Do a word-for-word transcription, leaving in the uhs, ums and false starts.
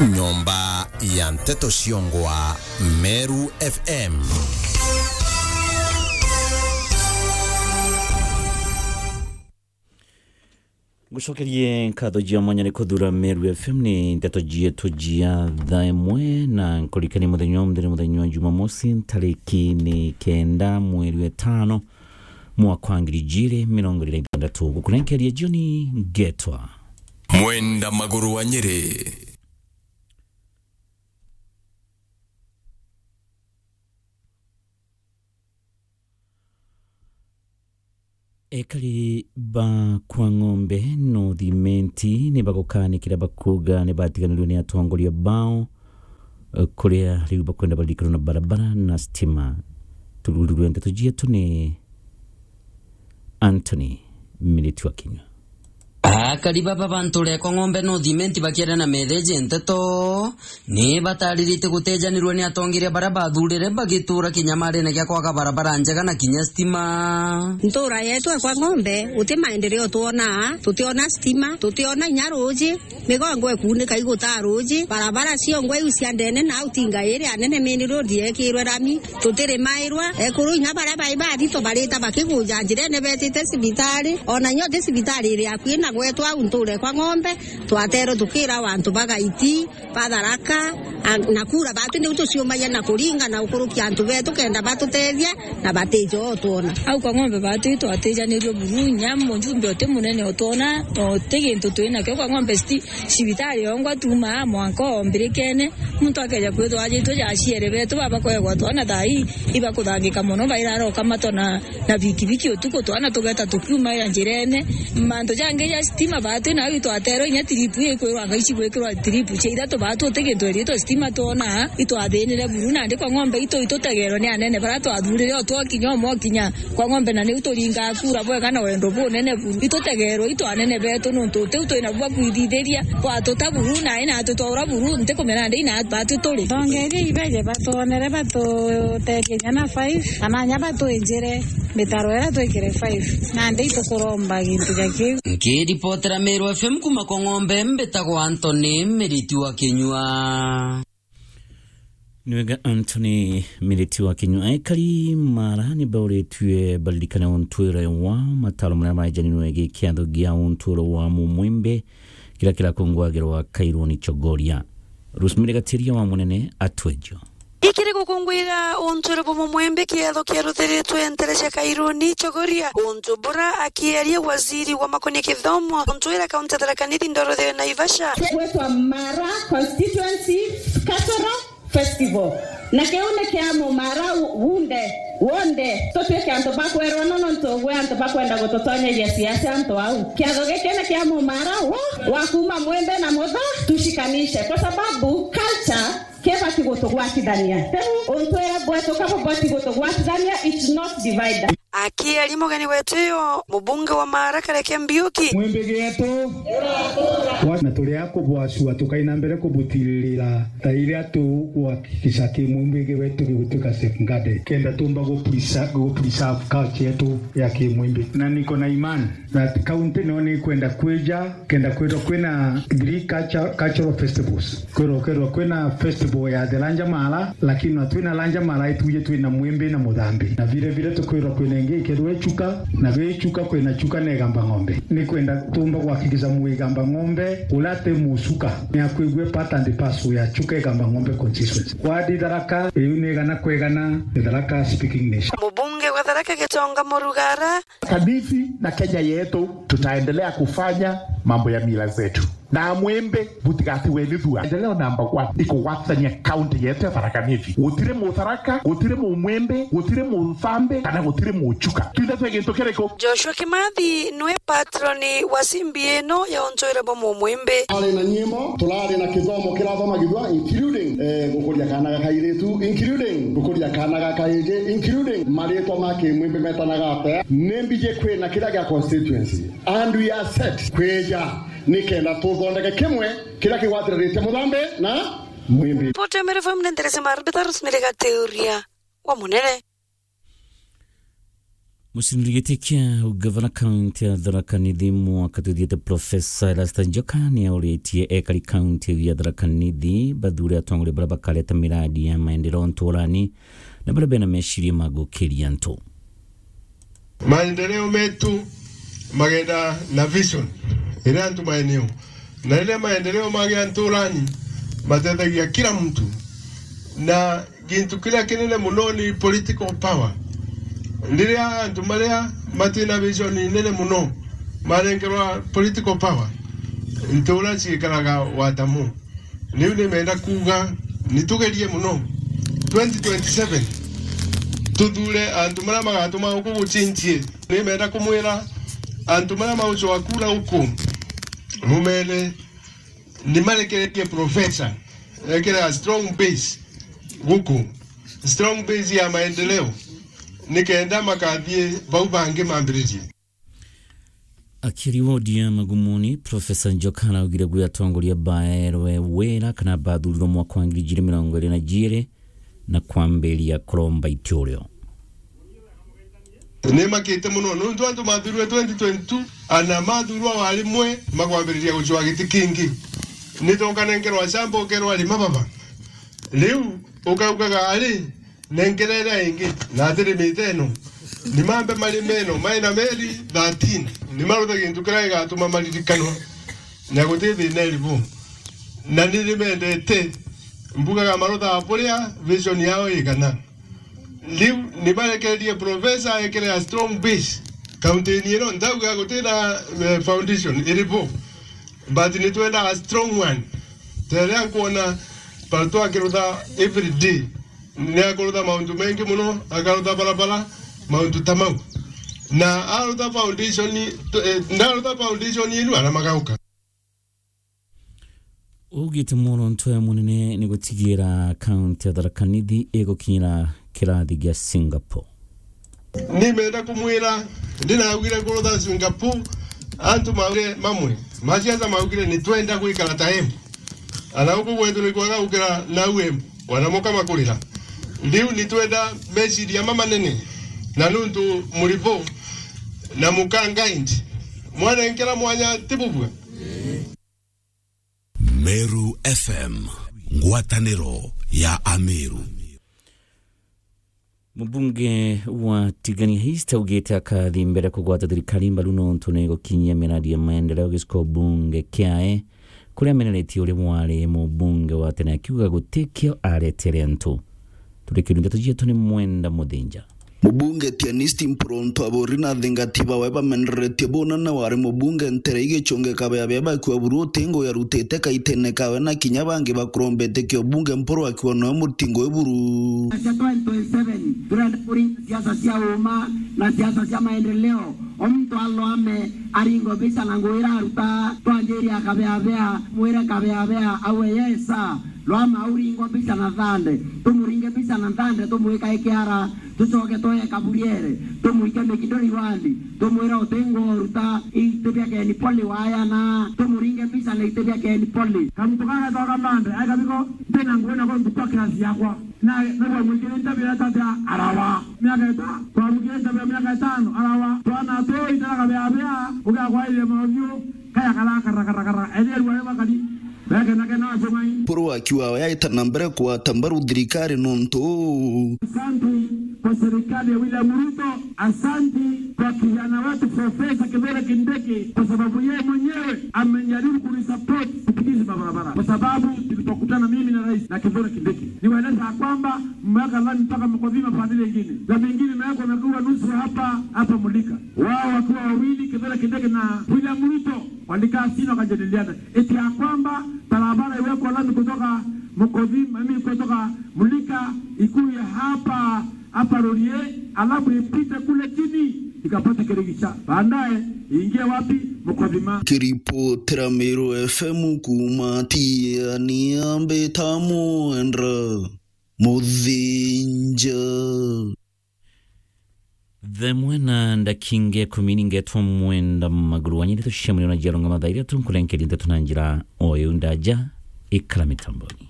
Nyomba ya nteto ciongwa Meru F M. Ngucokerie nkatho cia mwanya ni kuthura Meru F M ni nteto cietu cia thaa imwe, na nkurikanie muthenya wa muthenya, muthenya wa Jumamosi, ntariki ni kenda mweri wa itano, mwaka wa ngiri ijiri mirongo iri na ithantatu. Gukunenkeria jioni ngetwa Mwenda Maguru wa Nyeri. Ekari ba kwa Ng'ombe North Imenti ni bagukanikira bakuuga ni batiganirwe ni atongoria bao, eh, kuria riu bakwenda baririkanwa na barabara na stima. Turururwe nteto cietu ni Anthony Miriti wa Kinyua. Akari baba ba ntuura ekwa Ng'ombe North Imenti bakiaria na meetheji nteto, ni bataririte gutejanirwe ni atongeria baria bathuurire bagituura kinyamarene gia kwaga barabara njega na kinya stima. Ntuura yetu ekwa Ng'ombe, guti maendeleo twonaa, tutiona stima, tutiona inya ruuji, migongo ikuunika igutaa ruuji, barabara ciongwa iu cia ndene na au tinga iri anene main road yekirwe rami, tutirimairwa, ekuru inya baria bai bathitwa barita bakiguja njirene betite cibitari, ona nyo ti cibitari iri akui na gwetu au ntuura ekwa Ng'ombe, twaterwe tukira antu bagaiti, ba Tharaka, a, na kura batu niu tuciumagia na kuringa na ukurukia antu betu kenda batutethia na batija o twona. Au kwa Ng'ombe batu itwatijanirue buru, inya mujumbe uti munene o twona, no ti gintu twi nakio kwa Ng'ombe sti-, cibitari yongwa tumaa mwanka o mbirikene, muntu akeja kwithwa ajitwe ja aciere betu baba kwegwa twana thaa ii, ibakuthangika mono, bairara ukamatwa na na bikibiki utuku, twana tugeta tukiumaira njirene. Mantu jangi ja stima batu nau itwaterwa inya tiripu ikwirwa anga ici gwikirwa tiripu cia ithatu batu uti gintu iri itwa stima twona, itwathinire buru nandi kwa Ng'ombe itu itutegerwe ni anene bara twathurire o twokinya umwe okinya kwa Ng'ombe na niu turingaa kura bwega na wendo bunene buru. Itutegerwe itu anene betu nuntu utiu twina bwa kwithithiria, bwatuta buru na ina atutwaura buru ntikumenya ndi ina batu turi. Tongeria ibeje batwonere batutethie inya na five, kana inya batwinjire mitaro iria twikire five. Nandi itukuromba gintu ja kiu. Nkiripotera Meru F M kuma kwa Ng'ombe, mbitagwa Anthony Miriti wa Kinyua. Ni wega Anthony Miriti wa Kinyua. Ekari Mara ni bauritue baririkane untwire wa mataro maria maejanirwe gi kiatho gia untwiro wa Mumwimbi kiria kirakungwagirwa Kairuni Chogoria. Rosemary Gatiria wa Munene atwejo. Ikiri gukungwira untwiro bwa Mumwimbi kiatho kiaruthiritwe ntere cia Kairuni Chogoria, untu bura akieria waziri wa makonia kithomo, untwira kaunti ya Tharaka Nithi ndoro ya Naivasha. Gwetwa Mara Constituency Cultural Festival. Na kiu ni kia Mumara wunde, wonde. Tutwike antu ba kwerwa no nontu gwe antu bakwenda gututonyeria siasa antu au. Kiatho giki ni kia Mumara wo, wa kuma Mwimbi na Mutha, tushikanishe. Kwa sababu culture kibati gutugwatithania. Riu untwira bwetu kaba bwati gutugwatithania, it's not divider. Akiaria mugeni wetu uyu, mubunge wa Mara Kareke Mbiuki. Mwimbi gietu, wa-, na turi a kubwacua tukaina mbere kubutirira ta iria tukuhakikisha Kimwimbi wetu gigutuika safeguarded, kenda tumba gupresa-, gupreserve culture yetu ya Kimwimbi. Na niko na imani that county no ni kwenda kwija kenda kwithirwa kwina three culture-, cultural festivals. Kwithirwa, kwithirwa kwina festival ya the Lanja Mara, lakini na twina Lanja Mara ituje twina Mwimbi na Muthambi. Na vile vile tukwithirwa kwina ingi ikethirwa Ichuka, na vi Ichuka kwina Chuka na Igamba Ng'ombe. Ni kwenda tumba kuhakikisha Muigamba Ng'ombe uria ati Muchuka ni akwigua part and parcel ya Chuka Igamba Ng'ombe constituency. Wadi Tharaka, iu ni igana kwa igana, ni Tharaka speaking nation. Mubunge wa Tharaka Gitonga Murugara. Kanithi na Kenya yetu, tutaendelea kufanya mambo ya mila zetu. Na Mwimbi, butigatiwe ni thua. Endeleo number one, ni kugwatithania county yetu ya Tharaka Nithi. Gutiri Mutharaka, gutiri Mumwimbi, gutiri Muthambi, kana gutiri Muchuka. Twinthe twi gintu kiriku? Joshua Kimathi nwe patroni wa simbi ino ya untwire bwa Mumwimbi. Ari na nyimbo, turari na kithomo kirathomagithua, including, eh, gukuria kana ga kairitu, including gukuria kana ga kaingi, including maritwa ma Kimwimbi metanaga atia. Ni mbiji kwina kiria gia constituency. And we are set kwija nikenda tuthondeke kimwe kiria kigwatiriritie Muthambi na Mwimbi. Ripoti ya Meru F M ni Theresa Marbita, Rosemary Gateuria wa Munene. Mucindiri giti kia ugavana kaunti ya Tharaka Nithi mwaka tuthiite, Profesa Erastus Njoka, ni auritie ekari kaunti ya Tharaka Nithi bathure atongoria baria bakareta miradi ya maendeleo nturani na baria bena meciria ma gukiria antu. Maendeleo metu magenda na vision iria antu maeneo, na riria maendeleo magia nturani, matethagia kila mtu, na gintu kiria kinene muno ni political power. Riria antu maria matina vision nene muno marengerwa political power, ntura ciikaraga watamu. Riu nimenda kuuga, ni tugerie muno twenty twenty-seven, tuthure antu maria magatuma guku gucinjie. Nimenda kumwira antu maria maucoa kura guku, mumere ni marekererie Profesa ekere a strong base guku, strong base ya maendeleo, nikenda makathie bau bangi mambiririe. Akiaria wodi ya Magumuni, Profesa Njoka araugire gwi atongoria baerwe wira kana bathurirwe mwaka wa ngiri ijiri mirongo iri na jiiri na kwambiria kuromba iturio. Nimakite muno nuntu antu mathurwe twenty twenty-two, ana mathurwa wa rimwe makwambiriria gucwa giti kingi. Nitonkanengerwa shamba ukerwa rima baba. Riu ukaugaga ari, nenkerere ingi, na atiri mite ino. Ni mambe marime ino, maina meri thirteen. Ni maruthe gintu kiria gigatuma maririkanwa. Na guti thina iribu. Na ni nimendete, mbugaga marutha buria vision yao igana. Riu ni barekererie Profesa ekere a strong base. Kaunti-ini ino, ndauga guti na, eh, foundation iribu. But ni twenda a strong one. Teria nkuona Pato akirutha every day. Ni akurutha mauntu mengi muno, akarutha barabara, mauntu ta mau. Na arutha foundation, eh, ndarutha foundation inu, ana magauka. Ugite muronto ya munene ni gutigira kaunti ya Tharaka Nithi igukinyira kirathi gia Singapore. Nimenda kumwira, ndinaugire kurutha Singapore, antu maugire mamwe, masiasa maugire ni twenda gwikara ta Embu. Ana guku gwetu ni kwega gukira nau Embu, wana muka makurira. Riu ni twenda meciria mamanene, na nuntu muribo na muka guide, mwanenkera mwanya ti bubua. Meru F M, ngwataniro ya Ameru. Mubunge wa Tigania East augite akathi mbere kugwata thirikari mbaru nontu ni gukinyia miradi ya maendeleo giciko bunge kiae, kuria ameneretie uria wari mubunge wa tene akiuga gutikio aretere antu. Turikirie ndeto cietu ni Mwenda Muthinja. Mubunge Tianisti Mpuru Ntu Aburi na athingati bawe bameneretie buna na wari mubunge ntere igichunge kabeabea bakiwa buru utingo yarutite kaitene kawe na kinya bangi bakurombete kio bunge Mpuru akiwa noe mutingo iburu. Cia twenty twenty-seven, turenda kuringa siasa cia uma na siasa cia maendeleo. O muntu alwame aringo mbica na ngugi iraruta, twanjiria kabeabea, mwire kabeabea awe yesa. Lwama auringwa mbica na thande, tumuringe mbica na thande, tumwika ikiara, tucoke twoye kaburiere, tumwike mikindo riwandi, tumwire utingo ruta iti bia Ken Poly wayana, tumuringe mbica na iti bia Ken Poly. Kamuntu kagetoka mande, ai kabiko, ndina ngugi nako ntuku a kirasi yakwa. Na, na bwamwikire ntabira tata arawa. Miaka ita, twamwikire ntabira miaka itano arawa. Twana tu itara kabeabea, ugakwairie mauthiu, kaya kara, kara, kara, kara, eria rware bakari. Beke na kena acumai. Mpuru akiwa yaita na mbere kugwata mbaru thirikari nontu. Asante kwa serikali ya William Ruto. Asante kwa kijana wetu Profesa Kithure Kindiki, kwa sababu yeye mwenyewe amejaribu kunisupport kupitisha mabarabara, kwa sababu tulipokutana mimi na rais na Kithure Kindiki, niwaeleza ya kwamba mmeweka lami mpaka Mkodhima pande ile ingine, lami ingine imewekwa, imekuwa nusu hapa, hapa Mulika. Wao wakiwa wawili, Kithure Kindiki na William Ruto, walikaa chini wakajadiliana eti ya kwamba barabara iwekwe lami kutoka Mkodhima, mimi kutoka Mulika, ikuye hapa, hapa Rorie, alafu ipite kule chini, ikapate Kirigicha. Baadaye iingie wapi? Mkodhima. Kiripotera Meru F M kuuma Tiania, mbita Mwenda Muthinja. Thaa imwe na ndakinga ikumi ningetwa Mwenda Maguru. Wanyirite tucemania na Jiarunga mathaa ithatu, nkurenkeria ndeto na njira o iu ndaja, ikara mitamboni.